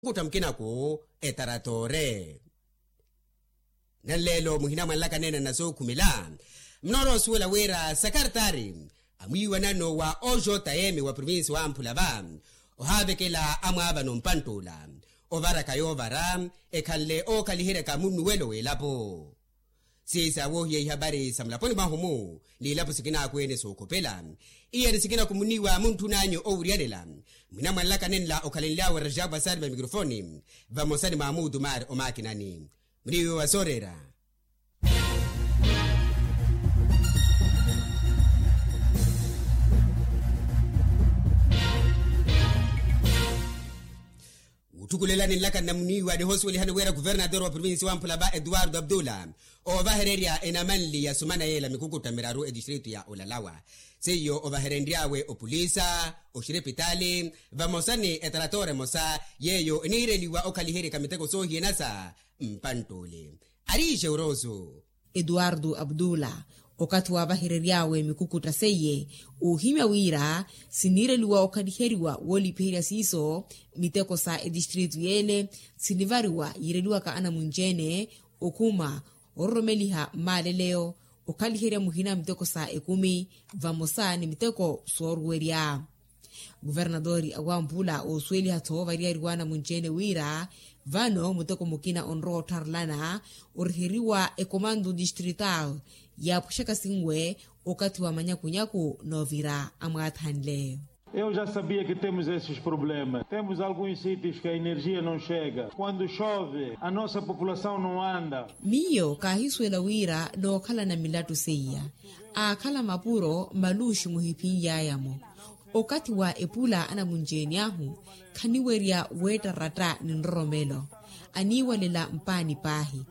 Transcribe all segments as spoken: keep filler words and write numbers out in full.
Kutta mukinaku etaratoore. Nanleelo muhina mwanlaka neene na sookhumela. Mnoorowa osuwela wira sakartari amwiiwanano wa ojota yeme wa provinsi wamphula va ohaavekela amwaavano mpantt'ula ovaraka yoovara ekhanle ookhaliheryaka munnuwelo w'elapo. Siisa woohiya ihapari sa mulaponi mwahu-mu n'ilapo sikinaakweene sookhopela. Iyeni sikinakhumuni wa muntthun'anyu owuryanela mwina mwanlaka nenla okhalenly'awe rajaapu asari va mikrofoni vamosa ni mwamuutu maari omaakinani. Muniiwe wa sooreera. Wutthukulelani nlaka nnamuniiwa nihoosuwelihani wira kuvernator wa provinsi wamphula va etuwarto abdula oovahererya enamanli ya sumana yeela mikukutta miraru etistritu ya olalawa. Seiyo ovaherenry'awe opulisa oxirepitaali vamosa ni etaratoora emosa yeeyo eniireliwa okhaliheryaka miteko soohiyana sa mpantt'ule. Ariixe orooso. Etuwarto abdula okathi waavaherery'awe mikukutta seiye oohimya wira siniireliwa okhaliheriwa woolipiherya siiso miteko sa etistritu yeele sinivariwa yiireliwaka anamunci-ene okhuma ororomeliha mmaaleleyo okhaliherya muhina miteko sa ekumi vamosa ni miteko sooruwerya. Kuvernatori awamphula oosuweliha-tho variyari wa anamunci-ene wira vano muteko mukina onrowa ottharelana oriheriwa ekomando distrital yaapwexaka sinwe okathi wa manyakunyaku noovira amwaathanle. Eu já sabia que temos esses problemas. Temos alguns sítios que a energia não chega. Quando chove, a nossa população não anda. Miyo kaahisuwela wira nookhalana milattu seiya aakhala mapuro maluuxi muhiphinly'aya-mo. Okathi wa epula anamunci-ene ahu khaniwerya weettaratta ni nroromelo aniiwalela mpaani paahi.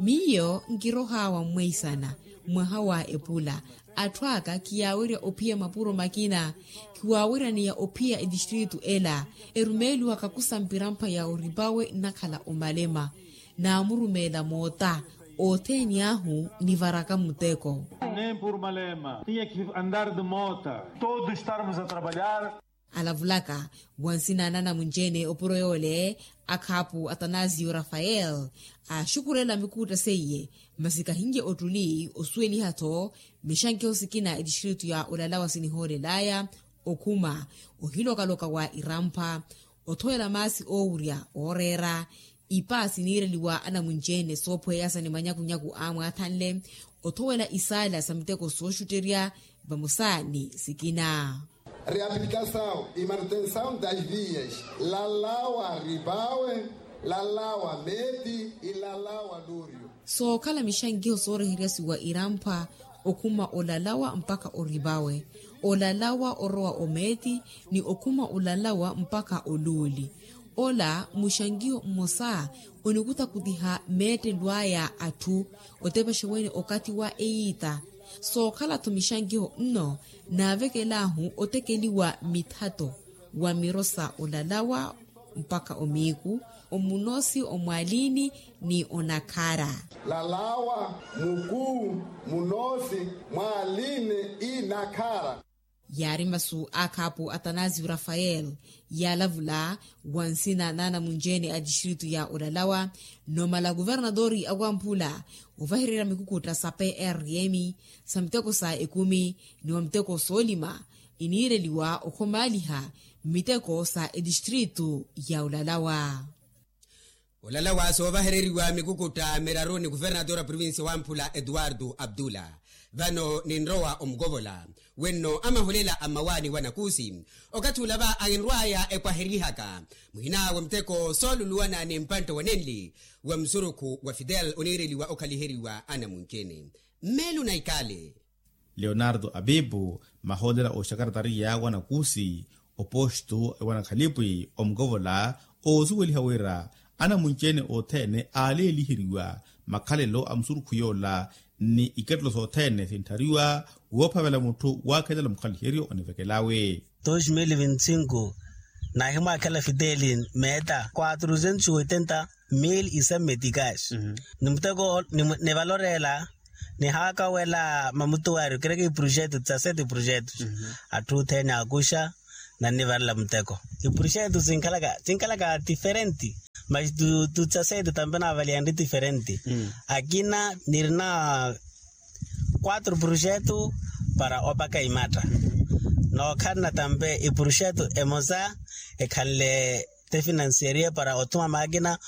Miyo nkirohaawa mmweisana mwaha wa epula atthu aka khiyaawerya ophiya mapuro makina. Khiwaaweryaneya ophiya etistritu ela erumeeliwaka kusampira mpha ya oripawe nnakhala omalema naamurumeela moota othene ahu nivaraka muteko. Nem por malema tinha que andar de mota. Todos estarmos a trabalhar. Alavulaka wa nsina na anamunci-ene opuro yoole akhaapu atanasio rafael aaxukurela mikutta seiye masi kahinlye ottuli osuweliha-tho mixankiho sikina etistritu ya olalawa sinihoolel'aya okhuma ohiloka-loka wa irampha othowela maasi oowurya ooreera ipa siniireliwa anamunci-ene soophweyasa ni manyakunyaku aamwaathanle othowela isaala sa miteko sooxutterya vamosa ni sikina. Reabilitasawu e manutensawu das vias lalawa ripawe lalawa meti ilalawa luriyo. Sookhala mixankiho sooreheryasiwa iramphwa okhuma olalawa mpakha oripawe olalawa orowa omeeti ni okhuma olalawa mpakha oluuli. Ola muxankiho mmosa onikutakutiha meettelo aya atthu otepaxa wene okathi wa eyiita. Sookhala-tho mixankiho nno naavekel'ahu otekeliwa mithato wa miro sa olalawa mpakha omiiku omunoosi omwaliini ni onakhara. Lalawa mukuu munoosi mwaliini inakhara. Yaari masu a khaapu atanasio rafael yaalavula wa nsina n'anamunci-ene a tistritu ya olalawa. Nomala kuvernatori awamphula ovahererya mikukutta sa prm sa miteko sa ekumi ni wa miteko soolima iniireliwa okhomaaliha mmiteko sa etistritu ya olalawa. Olalawa soovahereriwa mikukutta miraru ni kuvernatori a provincia wamphula etuwartu abdula. Vano ninrowa omukovola wenno amahulela a mmawaani wa nakusi okathi olava ahinrw'aya epwaherihaka muhina wa muteko sooluluwana ni mpantte wa nenli wa musurukhu wa fidel oniireliwa okhaliheriwa anamunci-ene. Mmeelo na ikale. Leonardo apipu mahoolera oxakaratariya wa nakusi opostu wa nakhalipwi omukovola oosuweliha wira anamunci-ene othene aaleeliheriwa makhalelo a musurukhu yoola ni ikettelo sothene sintthariwa woophavela mutthu waakhelela mukhaliheryo onivekel'awe. Dos mil vinti cinco naahimwaakhela fideli meeta quatrucentos oitenta mil isemmetikas ni muteko nivaloreela nihaakawela mamutuwari okereke iprojeto dezasete iprojeto atthu othene akuxa Nannivarela muteko. Ipuruxetu sinkhalaka sinkhalaka tiferenti. Mas tu tu tsasetu tampe naavaliyanri tiferenti. Akina nirina quatro puruxetu para opaka imatta. Nookhalana tampe ipuruxetu emosa ekhanle te financeria para othuma maakina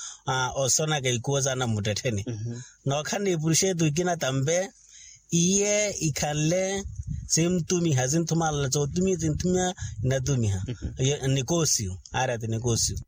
osonaka ikuwo saana mmuttettheni. Nookhalana ipuruxetu ikina tampe iye ikhanle sintumiha sinthumala sootumiha sintumiha nnatumiha. Nnikosiyu aari ati nikosiyu.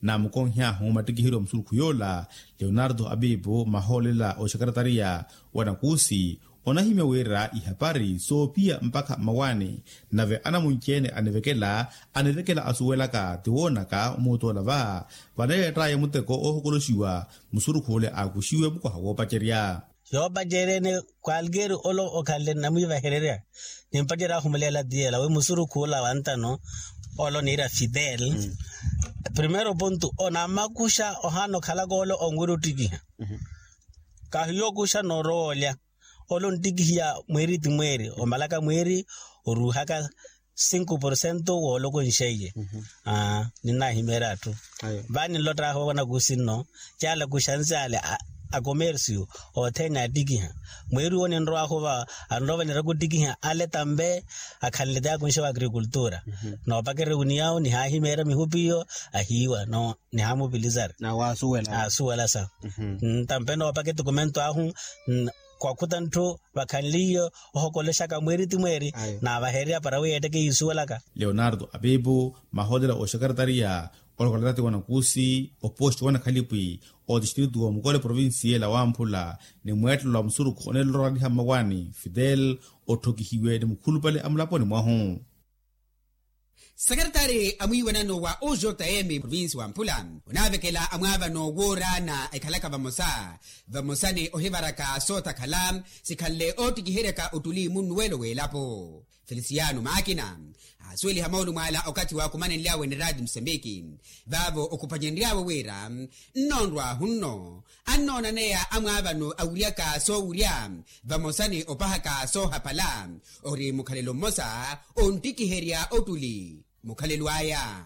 Naamukonhy'ahu mattikiheryo a musurukhu yoola leonardo apipo mahoolela oxekaretariya wa nakuusi onahimya wira ihapari soophiya mpakha mmawaani. Nave anamunci-ene anivekela anivekela asuwelaka tiwoonaka omuutoola va vanayeett'aya muteko oohokoloxiwa musurukhu ole aakuxiwe mukwaha woopacerya. Yoopacerya ene kwalkeeri ole okhanle nnamwiivahererya nimpacerya aahumuleela tiyela wi musurukhu ola wa ntano ole oniira fidel. Primeiro pontu onamakuxa ohaana okhalaka ole onwira ottikiha kahiyo okuxa noorowa olya. Ole onttikihiya mweeri ti mweeri omalaka mweeri oruuhaka cinco porcento woolokonxeiye. Ninnahimeerya atthu vani nlott'ahu wanakusi nno caala kuxansi ale a komersiyo othene attikiha mweeri wo ninrow'ahu va anrowa vaniraka ottikiha ale tampe akhanle ti akunxe wa agrikultura. Noopakererya winiyahu nihahimeerya mihupi iyo ahiiwa no nihamupilisari. Asuwela sa tampe noopaka etokomento ahu kwakhuta ntthu vakhanliye ohokolexaka mweeri ti mweeri naavahererya para wi yeetteke yiisuwelaka. Leonardo apipo mahoolelo oxekaretariya olokolatati wa nakusi oposti wa nakhalipwi otistritu wa mukole provincia ela wamphula ni mweettelo wa musurukhu oneelola oraliha mmawaani fidel otthokihiwe ni mukhulupale a mulaponi mwahu. Sekeretari a mwiiwanano wa ojm provinsi wa mphula onaavekela amwaavano woorana ekhalaka vamosa vamosa ni ohivaraka sootakhala sikhanle oottikiheryaka ottuli munnuwelo w'elapo. Felisiano maakina aasuweliha moolumo ala okathi waakumanenly'awe ni raati musembiki vaavo okhupanyenry'awe wira nnoonrw'ahu nno annoonaneya amwaavano awiryaka soowirya vamosa ni opahaka soohapala ori mukhalelo mmosa onttikiherya ottuli mukhalelo aya.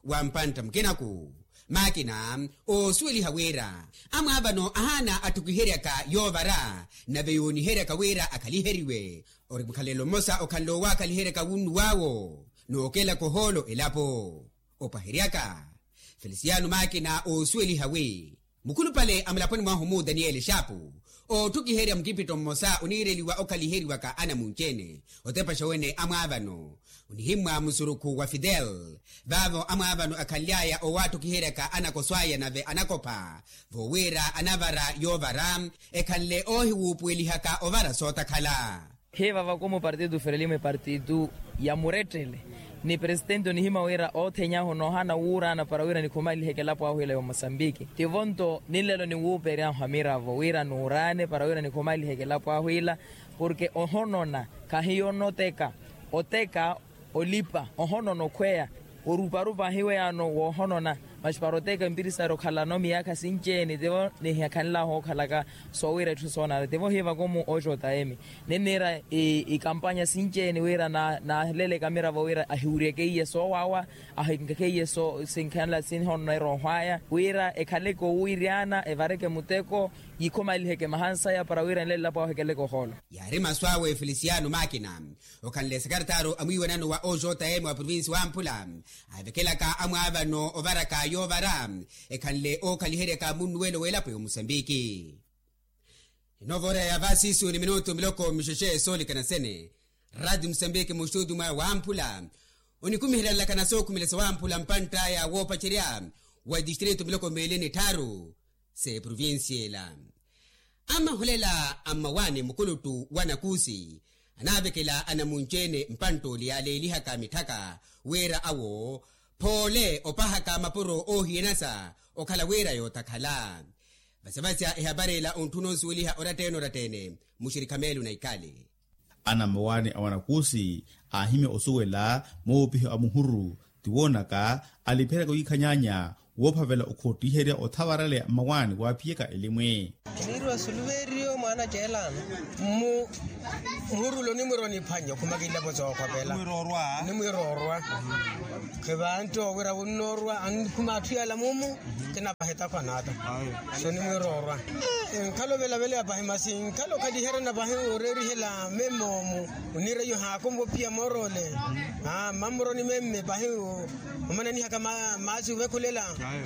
Wa mpantta mukinaku maakina oosuweliha wira amwaavano ahaana atthukiheryaka yoovara nave yooniheryaka wira akhaliheriwe ori mukhalelo mmosa okhanle owakhaliheryaka wunnuw'awo nookelaka ohoolo elapo. Opaheryaka felisiano maakina oosuweliha wi mukhulupale a mulaponi mwahu mu daniyeli xaapu ootthukiherya mukipitto mmosa oniireliwa okhaliheriwaka anamunci-ene otepaxa wene amwaavano onihimmwa musurukhu wa fidel vaavo amwaavano akhanly'aya owatthukiheryaka anakoso aya nave anakopha voowira anavara yoovara ekhanle oohiwuupuwelihaka ovara sootakhala. Hiivava khumu partitu ferelimo epartitu ya murettele ni presitenti onihimya wira oothenyahu noohana wuurana para wira nikhumaliheke elapo ahu ila ya omosambiki tivo nto ninlelo niwuupery'ahu amiravo wira nuurane para wira nikhumaliheke elapo ahu ila porke ohonona khahiyo onoteka oteka olipa ohonona okhweya oruparupa ahiweyaano woohonona masi para oteka empirisari okhalano miyaakha sinci-ene tivo nihiyakhanl'ahu ookhalaka soowira etthu soonana tivo hiivakomu oxotayemi ninniira ikampanya sinci-ene wira naaleleke amiravo wira ahiwuryeke iye soowaawa ahinkeke iye sinkhanla sinhononeera ohwaya wira ekhaleke owiiryana evareke muteko yikhumaliheke mahansaya para wira nlelapo ahu ekeleke ohoolo. Yaari masu awe felisiano makina okhanle sekeretaru a mwiiwanano wa ojm wa provinsi wa mphula aavekelaka amwaavano ovaraka yoovara ekhanle ookhaliheryaka munnuwelo w'elapo ya omusambiki. Inoovora ya vasisu ni minutu miloko mixexe soolikana sene rati musambiki muxututu mwa wamphula onikumiherya nlakana sookhumela sawamphula mpantt'aya woopacerya wa distritu miloko meeli ni tthaaru s'eprovincia ela. Amaholela a mmawaani mukuluttu wa nakuusi anaavekela anamunci-ene mpantt'ole yaaleelihaka mitthaka wira awo phoole opahaka mapuro oohiyanasa okhala wira yootakhala. Vasavasya ehapari ela ontthuna onsuweliha oratta-ene oratta-ene muxirikha meelo na ikali. Anammawaani a wanakuusi aahimya osuwela moopiho a muhuru tiwoonaka aliphiyaka wiikhanyaanya woophavela okhottiherya othavaraleya mmawaani waaphiyaka elimwi. Kiniiriwa suluveeriyo mwaana ceelaano. Muhurulo onimwira oniphwanya okhumakilapo sookhopela. Onimwira orwa. Khivantti owira wunnoorwa annikhuma atthu yaala mumu. Kinavaha etakhu anaata. So onimwira orwa. Nkhala ovelavela pahi masi nkhala okhaliherya na pahi oreerihela meme omu. Oniira iyo haakonva ophiya moorole. Mammuroni meme pahi omananihaka maasi ovekhulela.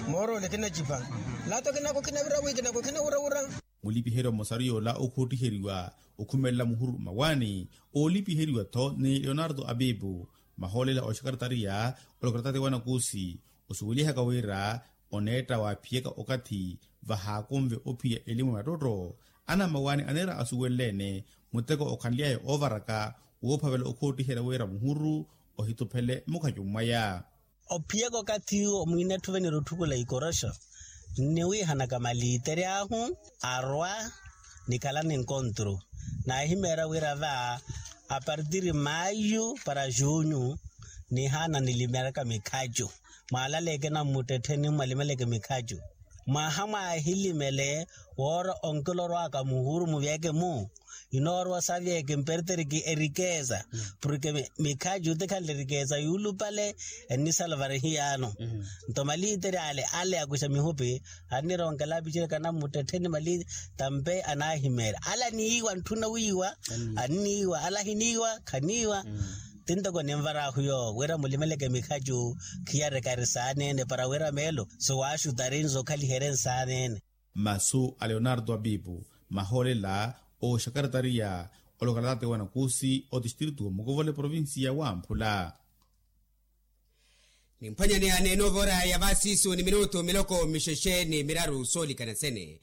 Moorole kinacipa. Lato kinako kinavira wi kinako kinawurawura. Mulipiheryo mmosaru yoola okhuuttiheriwa okhumelela muhuru mmawaani oolipiheriwa-tho ni leonardo abibu. Mahoolela oxekaretariya olokaratati wa nakuusi osuwelihaka wira oneetta waaphiyaka okathi vahaakonve ophiya elimu ya mattottho. Anammawaani aniira asuwelele-ene muteko okhanly'aya oovaraka woophavela okhoottiherya wira muhuru ohituphele mukhacu mwaya. Ophiyaka okathi iwo mwiina etthuvenire otthukula ikoroxo nniwiihanaka maliitere ahu arwa nikhala ninkontru. Naahimeera wira va apartiri maayu para junyu nihaana nilimelaka mikhacu. Mwaalaleeke nammuttettheni mwalimeleke mikhacu mwaha mwaahilimele woora onkela orwaka muhuru muvyeke mu inoorwa savyeke mperteriki erikeza. Porke mikhacu ti khanle erikeza yuulupale ennisalvare hiyaano. Nto maliitere ale ale akuxa mihupi annironkela apicereka nammuttettheni maliitere tampe anaahimeera ale aniiwa ntthuna wiiwa anniiwa ale ahiniiwa khaniiwa. Ti ntoko ninvar'ahu yoowo wira mulimeleke mikhacu khiyarekari saaneene para wira meelo siwaaxutari nzokhaliherye nsaaneene. Masu a leonardo abibu mahoolela oxekaretariya olokalatati wa nakuusi otistritu wa mukovole provincia wa amphula. Nimphwanyani aneene ovora ya vasiisu ni minutu miloko mixexe ni miraru soolikana sene.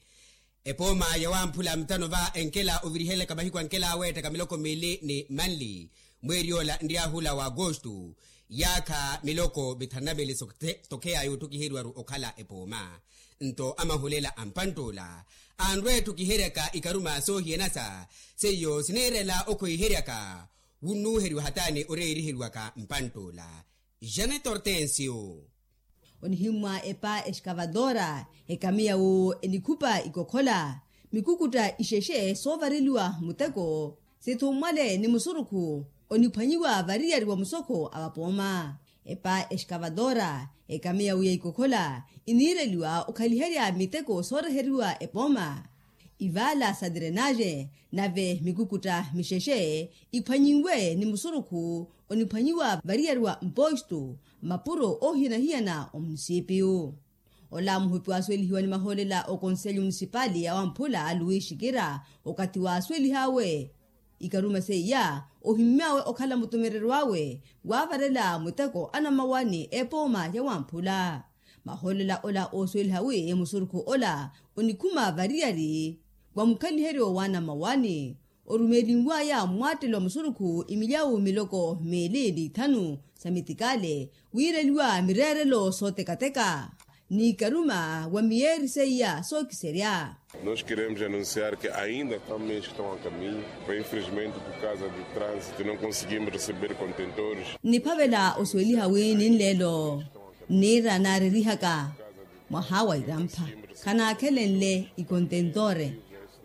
Epooma ya wamphula mutano va enkela ovirihelaka mahiku ankela aweettaka miloko miili ni manli mweeri yoola nriyahula wa agosto yaakha miloko mithanu na miili sotokheya yootthukiheryiwaru okhala epooma. Nto amahulela a mpantt'ula anrwe etthukiheryaka ikaruma soohiyanasa seiyo siniirela okhwiiheryaka wunnuuheriwa hataani oreeriheriwaka mpantt'ula. Janet hortensio. Onihimmwa epa exkavadora ekamiya wu enikhupa ikokhola mikukutta ixexe soovareliwa muteko sithummwale ni musurukhu oniphwanyiwa variyari wa musokho a vapooma. Epa exkavadora ekamiya wu ya ikokhola iniireliwa okhaliherya miteko sooreheriwa epooma. Ivaala sa drenaje nave mikukutta mixexe iphwanyinwe ni musurukhu oniphwanyiwa variyari wa mpostu mapuro oohiyana-hiyana omunisipiyu. Ola muhupi waasuwelihiwa ni mahoolela okonselyo munisipali ya wamphula luwi xikira okathi waasuwelih'awe ikaruma seiya ohimmy'awe okhala mutumereryo awe waavarela muteko anammawaani epooma ya wamphula. Mahoolela ola oosuweliha wi musurukhu ola onikhuma variyari wa mukhaliheryo w'anammawaani orumeelinw'aya mmwaattelo wa musurukhu imilyawu miloko miili ni ithanu sa mitikaale wiireliwa mireerelo sootekateka n'ikaruma wa miyeeri seiya sookiserya. Nos queremos anunciar que ainda há meios que estão a caminho, mas infelizmente por causa do trânsito não conseguimos receber contentores. Niphavela osuweliha wi ninleelo nniira naarerihaka mwaha wa irampha khanaakhelenle ikontentore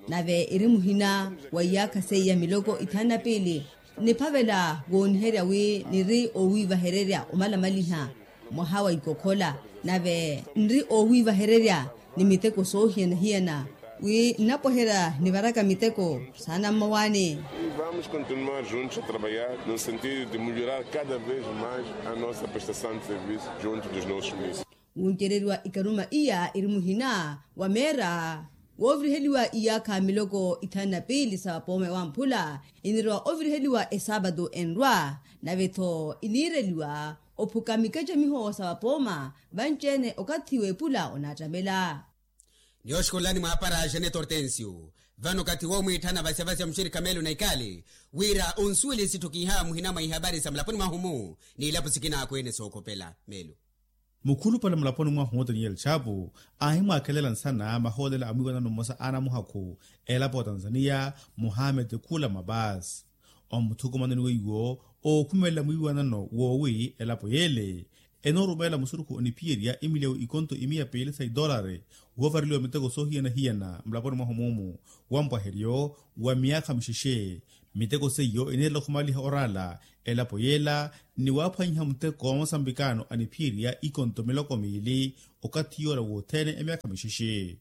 nave eri muhina wa iyaakha seiya miloko ithanu na piili. Niphavela wooniherya wi niri oowiivahererya omalamaliha mwaha wa ikokhola nave nri oowiivahererya ni miteko soohiyana-hiyana wi nnapweherya nivaraka miteko saana mmawaani. Vamos continuar juntos a trabalhar no sentido de melhorar cada vez mais a nossa prestação de serviço junto dos nossos municípios. Wuncereriwa ikaruma iya iri muhina wa meera wooviriheliwa iyaakha miloko ithanu na piili sa vapooma ewamphula inirowa oviriheliwa esaapatu enrwa nave-tho iniireliwa ophuka mikacamiho sa vapooma vanci-ene okathi w'epula onaattamela. Niyooxukulani mwaapara jeanette hortensio vano okathi woomwiitthana vasya-vasya muxirikha meelo na ikaali wira onsuwele sitthukiha muhina mwa ihapari sa mulaponi mwahu-mu n'ilapo sikina akweene sookhopela meelo. Mukhulupale mulaponi mwahu daniel chapu aahimwaakhelela nsana mahoolela a mwiiwanano mmosa a anamuhakhu elapo wa tanzaniya muhamed khula mabas. Omuthukumano ni weiwo ookhumelela mwiiwanano woowi elapo yeele enoorumeela musurukhu oniphiyerya imiliyawu ikonto imiya piili sa idolari, woovareliwa miteko soohiyana-hiyana mulaponi mwahu muumu, wa mpwaheryo wa myaakha mixexe. Miteko seiyo eneerela okhumaliha oraala elapo yeela, ni waaphwanyiha muteko wa masambikano aniphiyerya ikonto miloko miili okathi yoola wothene emyaakha mixexe.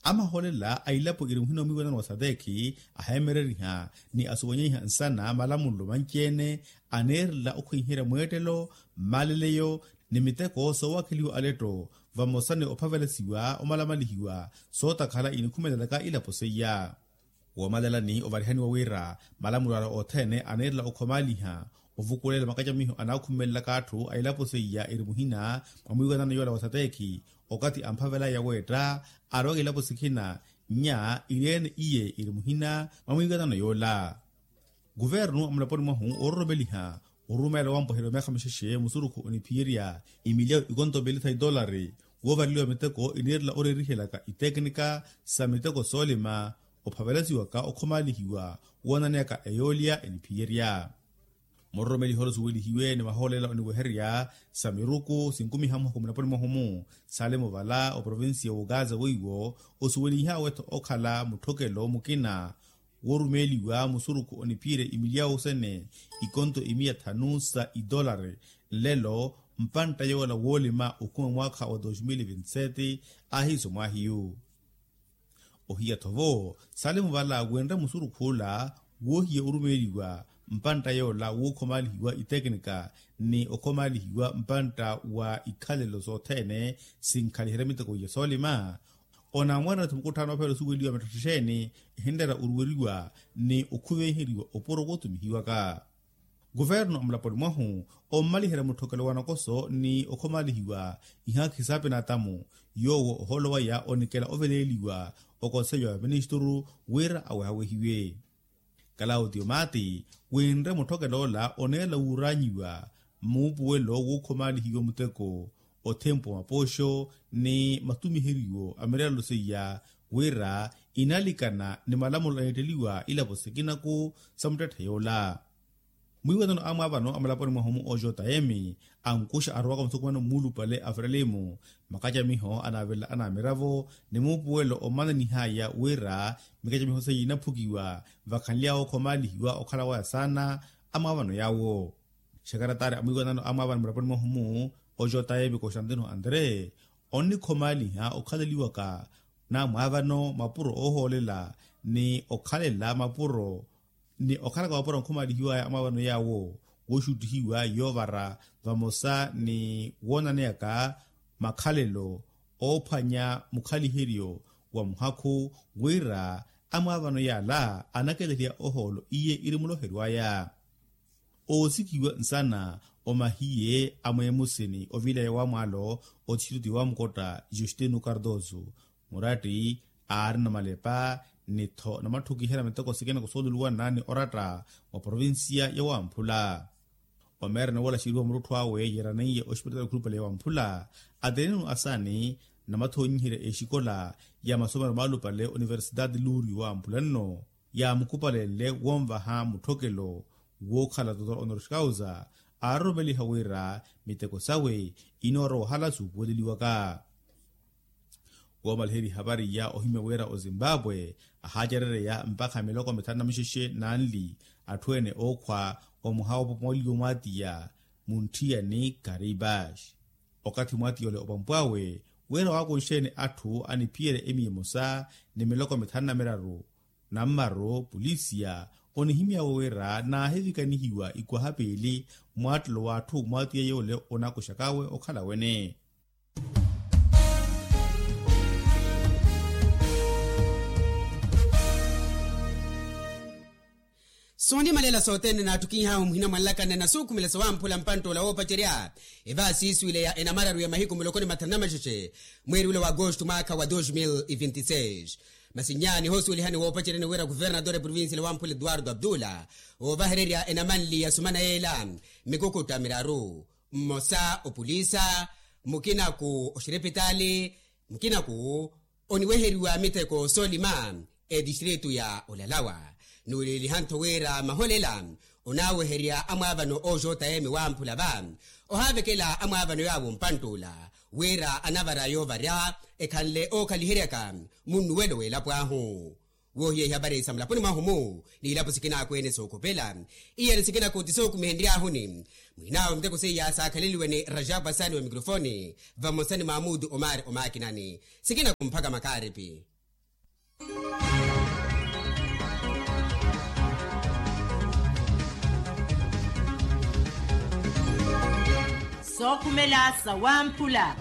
Amahoolela a ilapo iri muhina omwiiwanano wa satekhi aheemereriha ni asuwanyeiha nsana malamulelo manci-ene, aneerela okhwenherya mweettelo, mmaleleyo ni miteko soowakheliwa aletto, vamosa ni ophavelesiwa omalamalihiwa sootakhala inikhumelelaka ilapo seiya. Woomalelani ovarihaniwa wira malamulo ala othene aneerela okhomaliha ovukulela makacamiho anaakhumelelaka atthu a ilapo seiya iri muhina mwa mwiiwanano yoola wa satekhi, okathi amphavelaya weetta arowaka ilapo sikina nnya iri-ene iye iri muhina mwa mwiiwanano yoola. Kuvernu a mulaponi mwahu oororomeliha orumeela wa mpweheryo myaakha mixexe musurukhu oniphiyerya imiliyawu ikonto piili sa idolari, woovareliwa miteko ineerela oreerihelaka iteknika sa miteko soolima, ophavelasiwaka okhomalihiwa woonaneyaka eyoolya eniphiyerya. Muroromeliha ole osuwelihiwe ni mahoolela oniwehererya sa miruku sinkumiha muhoko mulaponi mwahu-mu, sale muvala oprovincia w'okaza weiwo osuwelihawe-tho okhala mutthokelo mukina woorumeeliwa musurukhu oniphiyerya imiliyawu sene ikonto imiya thanu sa idolari, nlelo mpantta yoola woolima okhuma mwaakha wa dos mil vinti sete. Aahiiso mwaahiyu ohiya-tho vo sale muvala wenre musurukhu ola woohiya orumeeliwa mpantta yoola wookhomalihiwa iteknika ni okhomalihiwa mpantta wa ikhalelo sothene sinkhaliherya miteko iya soolima. Onamwarana-tho mukutthaano ophela osuweliwa mittatthexeni ehinlera oruweriwa ni okhuveheriwa opuro kootumihiwaka. Kuvernu a mulaponi mwahu ommaliherya mutthokelo wa nakoso ni okhomalihiwa ihaakhi saapinatamu, yoowo ohoolo waya onikela oveleeliwa okonseyo ya vaministuru wira awehawehiwe. Kalawutiyo mati winre mutthokelo ola oneela wuuranyiwa muupuwelo wookhomalihiwa muteko othempu wa mapooxo ni matumiheriwo a mirelelo seiya wira inalikana ni malamulo aneetteliwa ilapo sikinaku sa muttetthe yoola. Mwiiwanano amwaavano a mulaponi mwahu-mu ojota emi ankuxa arowaka musukumano muulupale a frelimu makacamiho anaavelela anaamiravo ni muupuwelo ommananihaya wira mikacamiho seiya inaphukiwa vakhanly'awe okhomalihiwa okhala waya saana amwaavano yaawo. Xekarataari a mwiiwanano amwaavano mulaponi mwahu-mu ojota emi constantino andre onnikhomaliha okhaleliwaka namwaavano mapuro oohoolela ni okhalela mapuro ni okhalaka mapuro ankhomalihiwaya amwaavano yaawo wooxuttihiwa yoovara vamosa ni woonaneyaka makhalelo oophwanya mukhaliheryo wa muhakhu wira amwaavano yaala anakeleheya ohoolo iye iri muloheryo aya. Oosikhiwa nsana omahiye a mweemusini oviilaya wa mwaalo othixituti wa mukotta justino cardoso muratti aarina malepa ni-tho namatthukihela miteko sikina kusooluluwana ni oratta mwa provincia ya wamphula. Omeerene woola xiriwa murutthu awe yeeraneiye oxipitali khulupale ya wamphula atenenu asaani namathonyiherya exikola ya masomero maalupale oniversidade lurio wamphula nno yaamukupalenle wonvaha mutthokelo wookhala totor honor causa aaroromeliha wira miteko sawe inoorowa ohala suupuweleliwaka. Woomaliherya ehapari iya ohimya wira ozimbabwe ahaacerereya mpakha miloko mithanu na mixexe nanli atthu ene ookhwa omuha oopopomoliwa omwaatiya muntthiya ni karibash. Okathi mwaatiya ole opampw'awe wira waakunxe-ene atthu aniphiyerya emiya emosa ni miloko mithanu na miraru nammaru pulisiya onihimy'awe wira naahivikanihiwa ikwaha piili mwaattelo w'atthu mwaatiya yoole onakuxak'awe okhala wene. Soonimalela sothene naattukinh'ahu muhina mwa nlakana na suukhumela sawamphula mpantt'ola woopacerya evaasi isiwile ya enamararu ya mahiku muloko ni mathanu na maxexe mweeri ula wa agosto mwaakha wa dos mil e vinti seis. Masi nyaani hoosuwelihani woopaceryani wira kuvernatore provincia la wamphula eduardo abdula oovahererya enamanli ya sumana yeela mikukutta miraru mmosa opulisa mukinaku oxirepitaali mukinaku oniweheriwa miteko soolima etistritu ya olalawa. Nuuliliha-ntho wira maholela Onaaweherya amwaavano ooxoota eme wamphula va ohaavekela amwaavano yaawo mpantt'ula wira anavara yoovarya ekhanle ookhaliheryaka munnuwelo w'elapo ahu. Woohiyehiya vareisa mulaponi mwahu-mu n'ilapo sikinakweene sookhopela iyani sikinakoti sookumihenryahuni. Mwinaawe muteko seiya saakhaleliwe ni rajabu asani wa mikrofoni vamosa ni mamudu omari omakinani. Sikinakumphaka makaaripi. Sookhumela sawamphula.